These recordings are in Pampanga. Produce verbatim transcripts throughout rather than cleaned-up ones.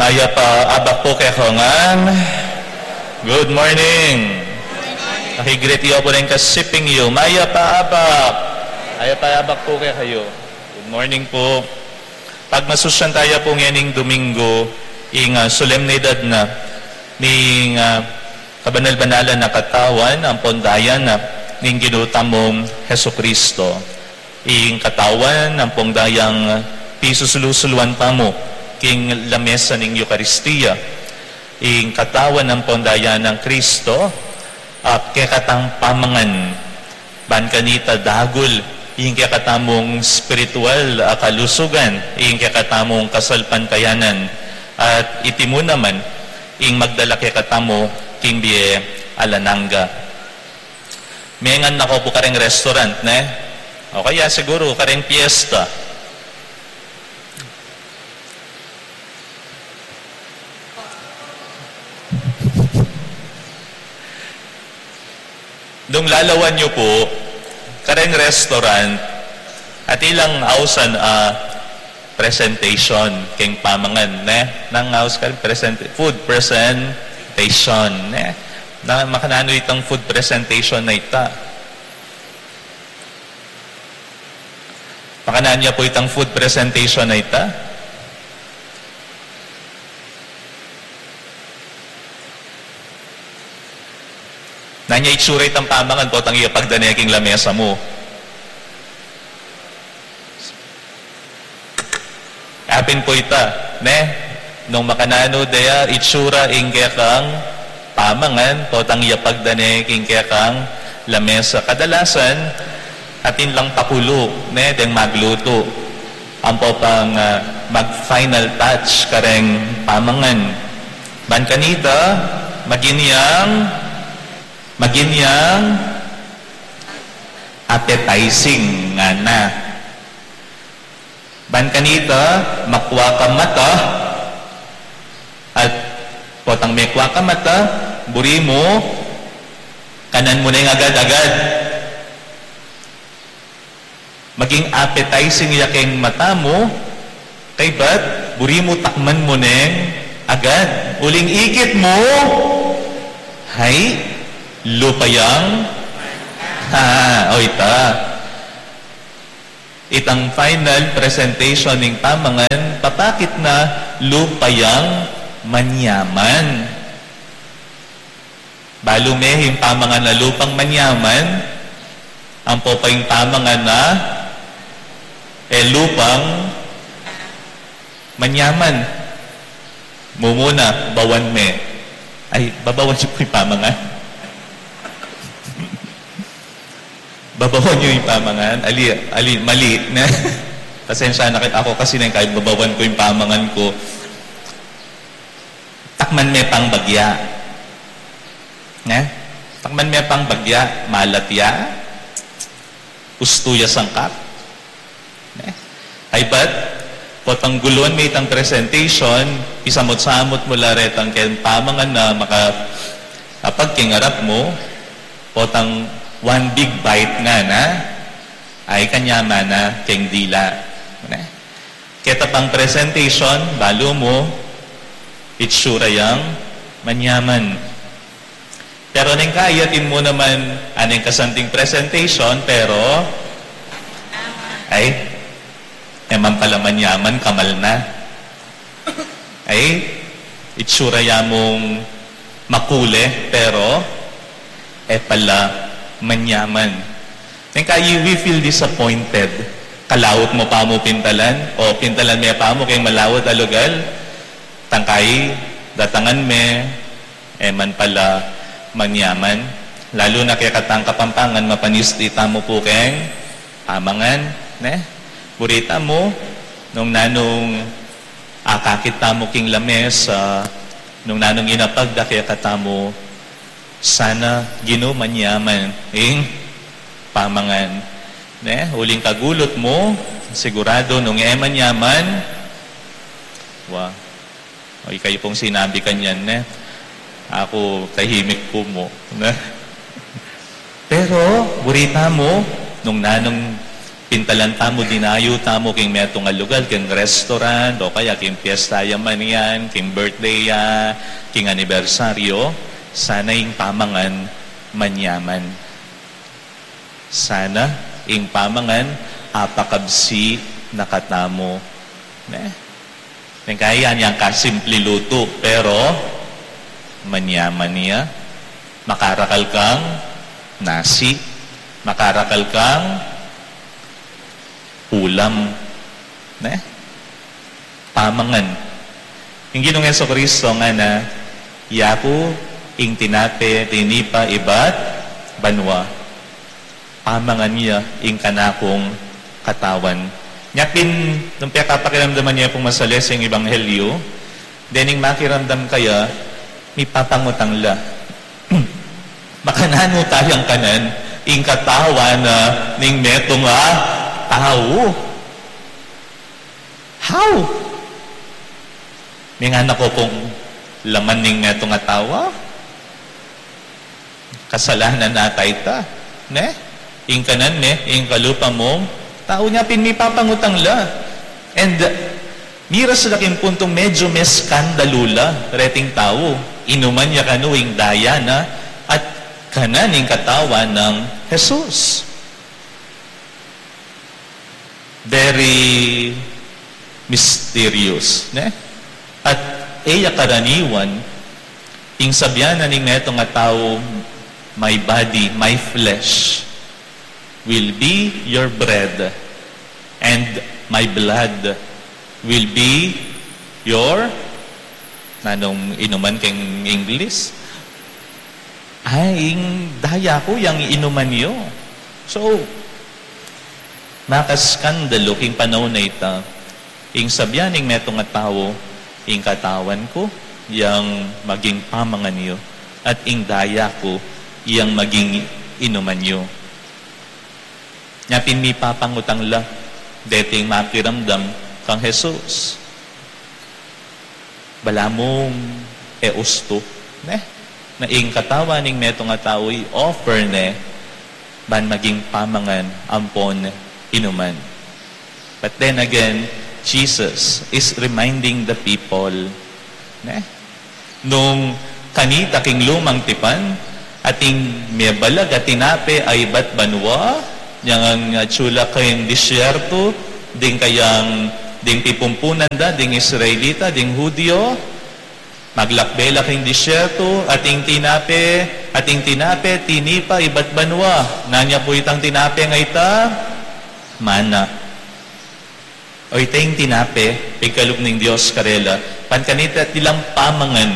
Mayap a abak pu kekayu ngan. Good morning. Pakigreet yu pu ring kasiping yu. Mayap a abak. Mayap a abak pu kekayu. Good morning pu. Pagmasusyan taya pu ngening Domingo, ing, ah, solemnidad na ning, ah, kabanal-banalan a katawan ampon daya na ning Ginu tamung Jesucristo. Ing katawan ampong dayang pisusulu-suluan tamu king lamesa ning Eukaristia. Ing katawan ampong daya nang Kristo, a kekatang pamangan. Ban kanita dagul ing kekatamung spiritual a kalusugan, ing kekatamung kasalpantayanan, at iti mu naman ing magdala kekatamu king bie alang angga. Mengan na ko pu kareng restaurant, ne? O kaya siguru kareng piyesta. Nung lalawan yu pu kareng restaurant, atin lang ausan a presentation keng pamangan, ne? Nang aus ka present-, food presentation, ne? Na, makananu itang food presentation a ita? Makananu ya pu itang food presentation a ita? Nanu ya itsura itang pamangan potang iyapag da ne king lamesa mu? Apin pu ita, ne? Nung makananu da ya itsura ing kekang pamangan potang iyapag da ne king kekang lamesa. Kadalasan, atin lang pakulu, ne, deng maglutu. Ampo pang, ah, mag-final touch kareng pamangan. Ban kanita, magin yang, magin yang appetizing ngana. Ban kanita, makua ka mata, at potang mekua ka mata, buri mu, kanan mu neng agad-agad. Maging appetizing ya keng mata mu, kaybat, buri mu takman mu neng agad. Uling ikit mu, hay, lupa yang, ha, o ita. Itang final presentation ning pamangan, papakit na lupa yang manyaman. Balu me ing pamangan a lupang manyaman, ampo pa ing pamangan a e lupang manyaman. Mumuna, bawan me. Ay, babawan yu pu ing pamangan. Babawan yu ing pamangan. Ali, ali, mali, ne? Pasensya na kayu, aku kasi neng kaybat babawan ku ing pamangan ku. Takman me pang bagya. Ne? Takman me pang bagya, malat ya. Ustu ya sangkap. Ne? Kaybat, potang guluan me itang presentation, isamut-samut mu la retang keng pamangan a maka-, apag king arap mu, potang one big bite ngana, ay kanyaman na keng dila. Ne? Keta pang presentation, balu mu, itsura yang manyaman. Pero neng kaya atin mu naman, a, neng kasanting presentation, pero, ay, e man pala manyaman, kamal na. Ay, itsura ya mung makule, pero, e pala manyaman. Neng kaya we feel disappointed. Kalaut mu pa mu pintalan, o pintalan me pa mu keng malaut a lugal, tangkai, datangan me, e man pala manyaman. Lalu na kekatang Kapampangan, mapanisti tamu pu keng pamangan, ne? Buri tamu, nung nanung akakit tamu king lamesa, nung nanung inapag da kekatamu, sana Ginu manyaman ing pamangan. Ne? Uling kagulut mu, sigurado nung e manyaman, wa, o, ikayu pung sinabi kanyan, ne? Aku, tahimik ku mu, ne? Pero, buri tamu, nung nanung pintalan tamu, dinayu tamu king metung a lugal, king restaurant, o kaya king piyesta ya man yan, king birthday ya, king anibersaryo, sana ing pamangan manyaman. Sana ing pamangan apakabsi na katamu. Ne? Neng kaya yang kasimple lutu, pero manyaman ya. Makarakal kang nasi, makarakal kang ulam, ne? Pamangan. Ing Ginung Jesucristo ngana, "Yaku ing tinape tinipa ibat banua." Pamangan ya ing kanakung katawan. Nya pin, nung pekapakiramdaman ya pung masalese ing ebanghelyo, dening makiramdam kaya, mipapangutang la. Makananu tayang kanan ing katawan na ning metung a tau? How? Mingana ku pung laman ning metung a tau? Kasalanan na ita, ne? Ing kanan me, ing kalupa mung tau. Nya pin mipapangutang la. And, uh, miras la king puntung medyo meskandalu la reting tau. Inuman ya kanu ing daya na at kanan ing katawan nang Jesus. Very mysterious, ne? At e ya karaniwan, ing sabian na ning metung a tau, "My body, my flesh will be your bread, and my blood will be your," nanung inuman king English? Ay, ing daya ku yang inuman yu. So, makaskandalu king panaun a ita, ing sabian ning metung a tau, "Ing katawan ku yang maging pamangan yu, at ing daya ku yang maging inuman yu." Nya pin mipapangutang la deting makiramdam kang Jesus. Balamu e ustu, ne? Na ing katawan ning metung a tau i-offer ne ban maging pamangan ampon inuman. But then again, Jesus is reminding the people, ne? Nung kanita king lumang tipan, ating mebalag a tinape a ibat banua, yang, ah, atsu la king disyerto, ding kayang, ding pipumpunan da, ding Israelita, ding Hudio, maglakbe la king disyerto, ating tinape, ating tinape, tinipa ibat banua. Nanu ya pu itang tinape a ita? Mana. O ita ing tinape, pigkalub ning Dios karela, ban kanita at ilang pamangan,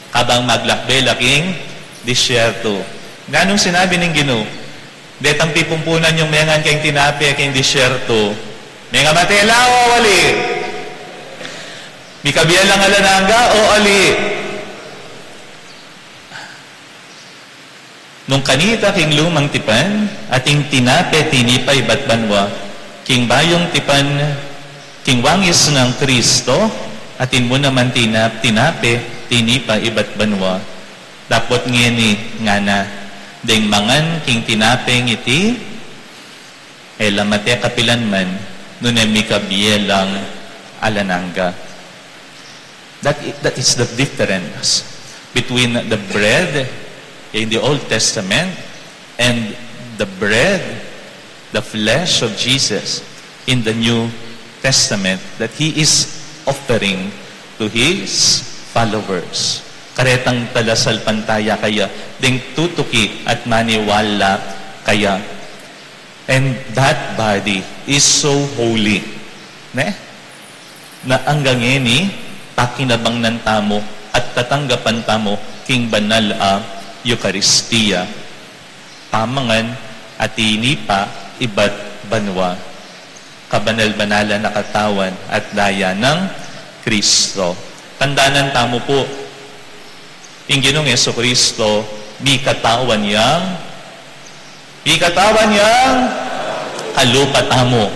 kabang maglakbe la king disyerto. Nanung sinabi ning Ginu? Detang pipumpunan yung mengan keng tinape keng disyerto, mengamate la o ali? Mikabie lang alang angga o ali? Nung kanita king lumang tipan, ating tinape tinipa ibat banua, king bayung tipan, king wangis nang Kristo, atin mu naman tina-, tinape tinipa ibat banua. Dapot ngeni ngana, deng mangan king tinapeng iti, e la mate kapilan man, nune mikabie lang alang angga. That i-, that is the difference between the bread in the Old Testament and the bread, the flesh of Jesus in the New Testament that he is offering to his followers. Karetang talasalpantaya kaya, deng tutuki at maniwala kaya. And that body is so holy, ne? Na anggang ngeni, pakinabangnan tamu at tatanggapan tamu king banal a Eukaristia. Pamangan a tinipa ibat banua, kabanal-banalan a katawan at daya nang Kristo. Tandanan tamu pu, ing Ginung Jesucristo, mikatawan yang, mikatawan yang kalupa tamu.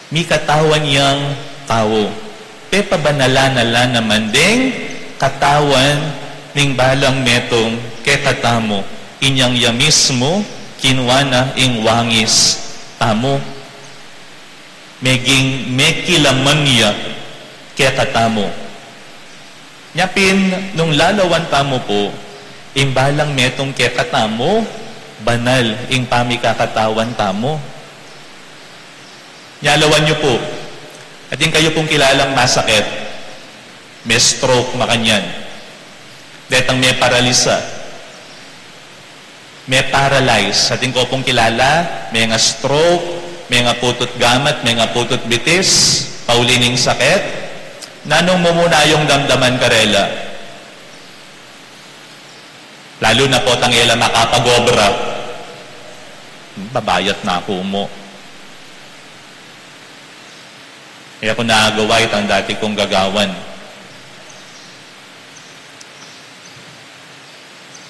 Mikatawan yang tau. Pepabanalan na la naman deng katawan ning balang metung kekatamu. Inyang ya mismu kinua na ing wangis tamu. Meging mekilaman ya kekatamu. Nya pin, nung lalawan tamu pu, ing balang metung kekatamu, banal ing pamikakatawan tamu. Nya lawan yu pu, atin kayu pung kilalang masakit, me-stroke, makanyan. Detang meparalisa, me-paralyze. Atin ku pung kilala, menga-stroke, mengaputut gamat, mengaputut bitis, pauli ning sakit. Nanung mumuna yung damdaman karela? Lalu na potang e la makapag-obra. Babayat na ku mu. E ku na agawa itang dati kung gagawan.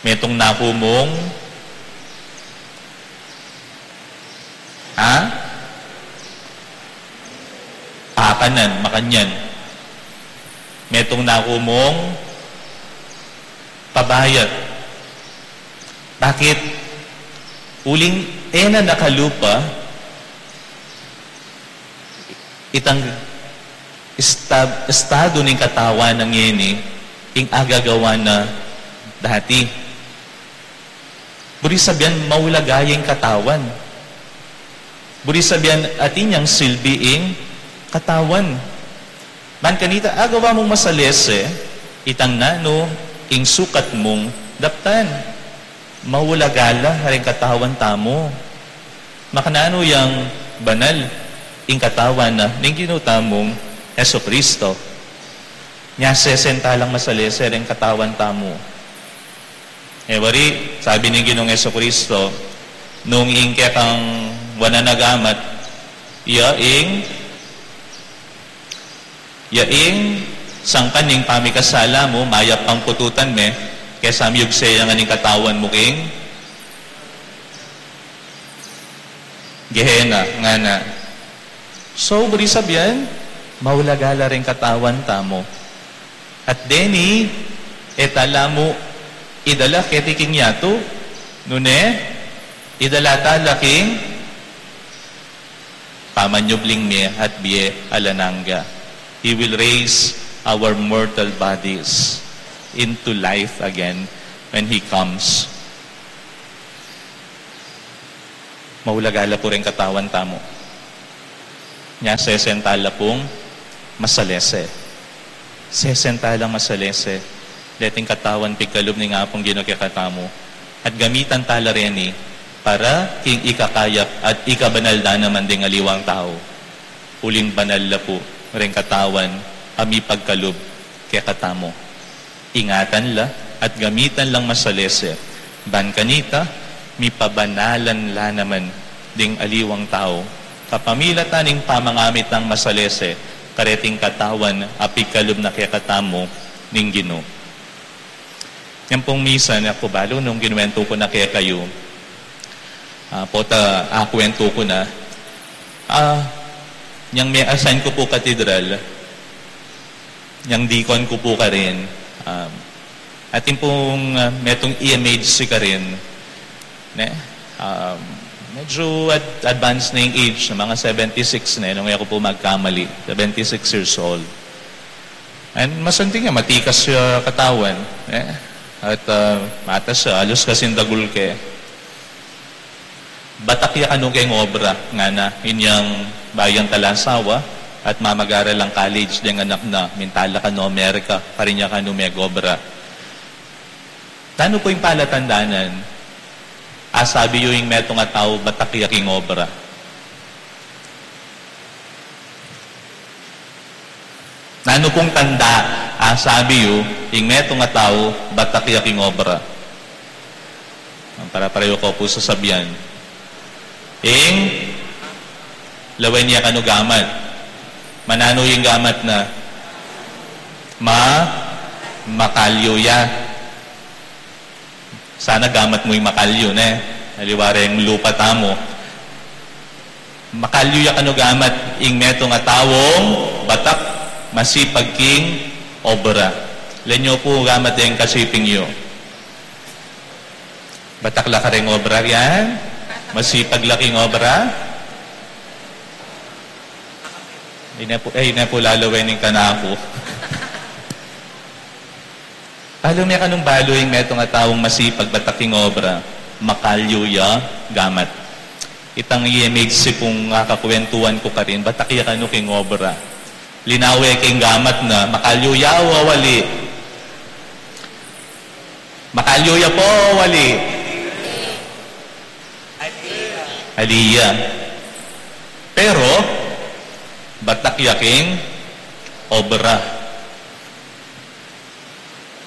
Metung na ku mung, ha? Akanan, makanyan. Metung na ku mung pabayat. Bakit? Uling e na nakalupa itang esta-, estado ning katawan nang ngeni, ing agagawa na dati. Buri sabian, maulaga ya ing katawan. Buri sabian, atin yang silbi ing katawan. Ban kanita, agawa mung masalese itang nanu ing sukat mung daptan. Maulaga la ring katawan tamu. Makananu yang banal ing katawan na ning Ginu tamung Jesucristo. Nya sesenta lang masalese ring katawan tamu. E wari, sabi ning Ginung Jesucristo, nung ing kekang wanan a gamat, ya ing, ya ing sangkan ning pamikasala mu, mayap pang pututan me, kesa miyugse ya ngan ing katawan mu king Gehenna, ngana. So, buri sabian, maulaga la ring katawan tamu. At deni, e tala mu idala keti king yatu, nune, idala tala king pamanyubling mie at bie alang angga. He will raise our mortal bodies into life again when He comes. Maulaga la pu ring katawan tamu. Nya sesenta la pung masalese. Sesenta lang masalese. Deting katawan pigkalub ning Apung Ginu kekatamu. At gamitan tala reni para king ikakayap at ikabanal da naman ding aliwang tau. Uling banal la pu ring katawan a mipagkalub kekatamu. Ingatan la at gamitan lang masalese, ban kanita, mipabanalan la naman ding aliwang tau, kapamilatan ning pamangamit nang masalese, kareting katawan a pigkalub na kekatamu ning Ginu. Yan pung misa, ne ku balu nung kinuwentu ku na kekayu, ah, pota, ah, kuwentu ku na, ah, yang me-assign ku pu katedral, yang deacon ku pu karin, um, atin pung, uh, metung E M H C karin, ne? Um, medyo ad-, advance na ing age, mga seventy-six na, nung e ku pu magkamali, seventy-six years old. And masanting ya, matikas ya katawan, ne? At, uh, matas ya, alus kasing dagul ke. Batak ya kanu keng obra, ngana, inyang bayu yang kalasawa, at mamagaral lang college deng anak na, minta la kanu Amerika, karin ya kanu megobra. Nanu pu ing palatandanan a sabi yu ing metung a tau batak ya king obra? Nanu pung tanda a sabi yu ing metung a tau batak ya king obra? Para-pareho ko pu sasabian. Ing lawen ya kanu gamat. Mananu ing gamat na? Ma-, makalyu ya. Sana gamat mu ing makalyu, ne? Aliwa reng lupa tamu. Makalyu ya kanu gamat ing metung a taung batak masipag king obra. Lenyu pu gamat deng kasiping yu. Batak la kareng obra yan? Masipag la king obra? Ine pu, eh, ine pu lalawen ing kanaku. Balu me kanung balu ing metung a taung masipag batak king obra, makalyu ya gamat. Itang E M H C kung kakakwentuan ku karin, batak ya kanu king obra. Linawe king gamat na, makalyu ya o wali? Makalyu ya pu o wali? Ali ya. Pero, batak ya king obra.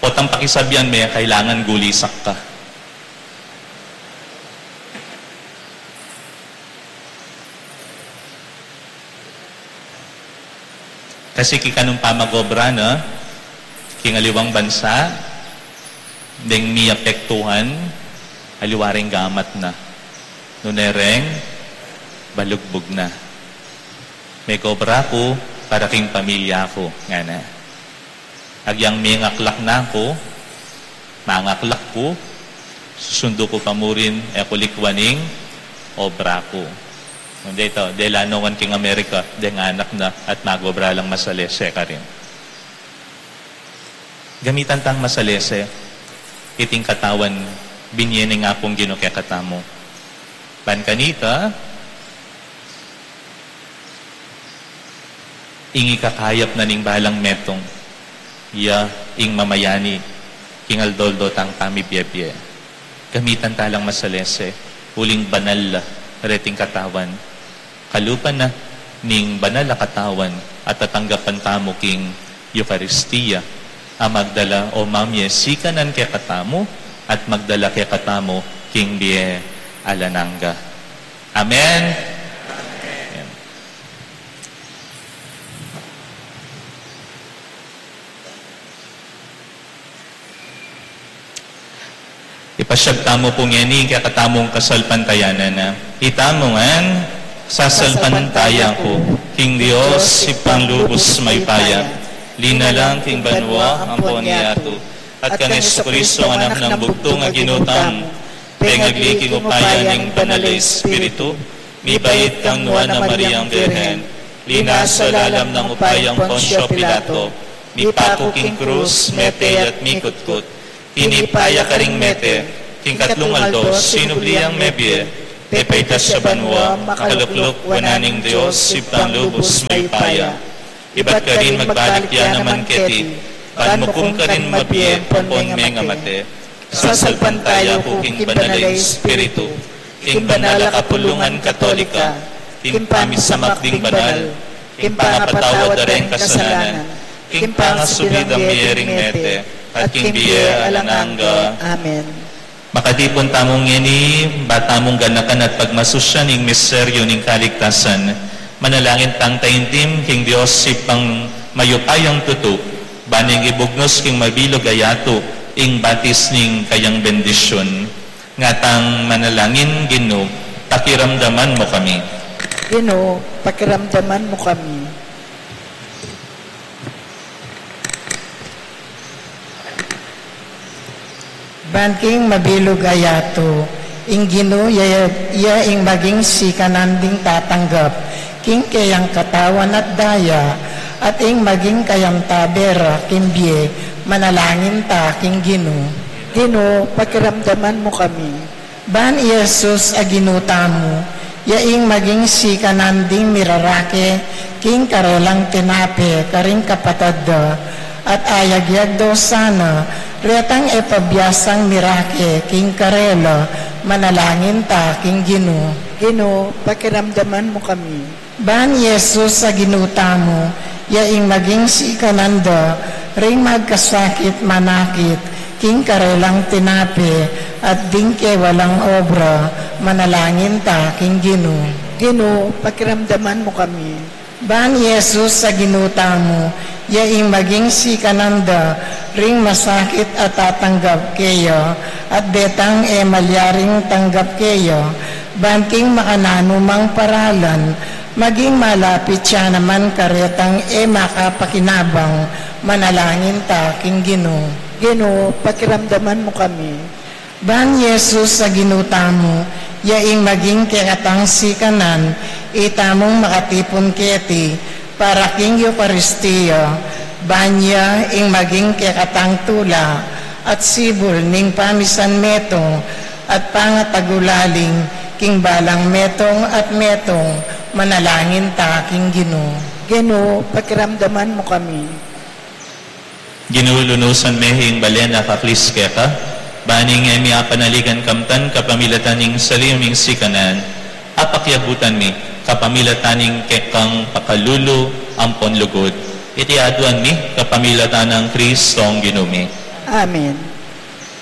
Potang pakisabian me, kailangan gulisak ka. Kasi king kanung pamag-obra na, king aliwang bansa, deng miapektuhan, aliwa ring gamat na. Nune reng, balugbug na. Meg-obra ku para king pamilya ku, ngana. Agyang mengaklak na ku, mangaklak ku, susundu ku pa murin e ku likwan ing obra ku. Nung deta, dela nungan king Amerika, deng anak na at mag-obra lang masalese karin. Gamitan tang masalese iting katawan binie ning Apung Ginu kekatamu. Ban kanita, ing ikakayap na ning balang metung, ya ing mamayani king aldo-aldo tang pamibie-bie. Gamitan ta lang masalese, uling banal la reting katawan. Kalupa na ning banal a katawan a tatanggapan tamu king Eukaristia, a magdala o mamie sikanan kekatamu at magdala kekatamu king bie alang angga. Amen. Amen. Ipasyag tamu pu ngeni ing kekatamung kasalpantayanan. Itamu ngan, sasalpantaya ku king Dios, Ibpang lubus mayupaya, linalang king banua ampon king yatu, at kang Jesucristo, Anak nang bugtung a Ginu tamu, pengagli king upaya ning Banal a Espiritu, mibait kang nuan a Mariang Birhen, linasa lalam nang upayang Poncio Pilato, mipaku king krus, mete at mikutkut, tinipa ya karing mete, king katlung aldo sinubli yang mebie, pepaitas ya banua, makalukluk wanan ning Dios Ibpang lubus mayupaya. Ibat karin magbalik ya naman keti, ban mukum karing mabie ampon mengamate. Sasalpantaya ku king Banal a Espiritu, king banal a kapulungan Katolika, king pamisamak ding banal, king pangapatawad da reng kasalanan, king pangasubli dang mie ring mete, at king bie alang angga. Amen. Makatipun tamu ngeni, ba tamung ganakan at pagmasusyan ing misteryu ning kaligtasan. Manalangin tang taimtim king Dios Ibpang mayupayang tutu, ban ing ibugnus king mabilug a yatu ing batis ning kayang bendisyun. Ngatang manalangin, Ginu, pakiramdaman mu kami. Ginu, pakiramdaman mu kami. Ban king mabilug a yatu, ing Ginu ya, ya ing maging sikanan ding tatanggap king keyang katawan at daya, at ing maging kayang tabe ra king bie, manalangin ta king Ginu. Ginu, pakiramdaman mu kami. Ban i Jesus a Ginu tamu, ya ing maging sikanan ding mirarake king karelang tinape karing kapatad da, at ayagyag da sana retang e pabiasang mirake king karela, manalangin ta king Ginu. Ginu, pakiramdaman mu kami. Ban i Jesus a Ginu tamu, ya ing maging sikanan da ring magkasakit manakit king karelang tinape at ding kewalang obra, manalangin ta king Ginu. Ginu, pakiramdaman mu kami. Ban i Jesus a Ginu tamu, ya ing maging sikanan da ring masakit a tatanggap keya, at detang e malyaring tanggap keya, ban king makananu mang paralan, maging malapit ya naman karetang e makapakinabang, manalangin ta king Ginu. Ginu, pakiramdaman mu kami. Ban Jesus a Ginu tamu, ya ing maging kekatang sikanan, itamung makatipun keti, para king Eukaristia, ban ya ing maging kekatang tula, at sibul ning pamisan metung, at pangatagulaling, king balang metung at metung, manalangin ta king Ginu. Ginu, pakiramdaman mu kami. Ginu, lunusan me ing balen a kaklis keka, ban ing e mi apanaligan kamtan kapamilatan ning saliu ming sikanan, apakiabutan mi kapamilatan ning kekang pakalulu ampon lugud. Iti aduan mi kapamilatan nang Kristong Ginu mi. Amen.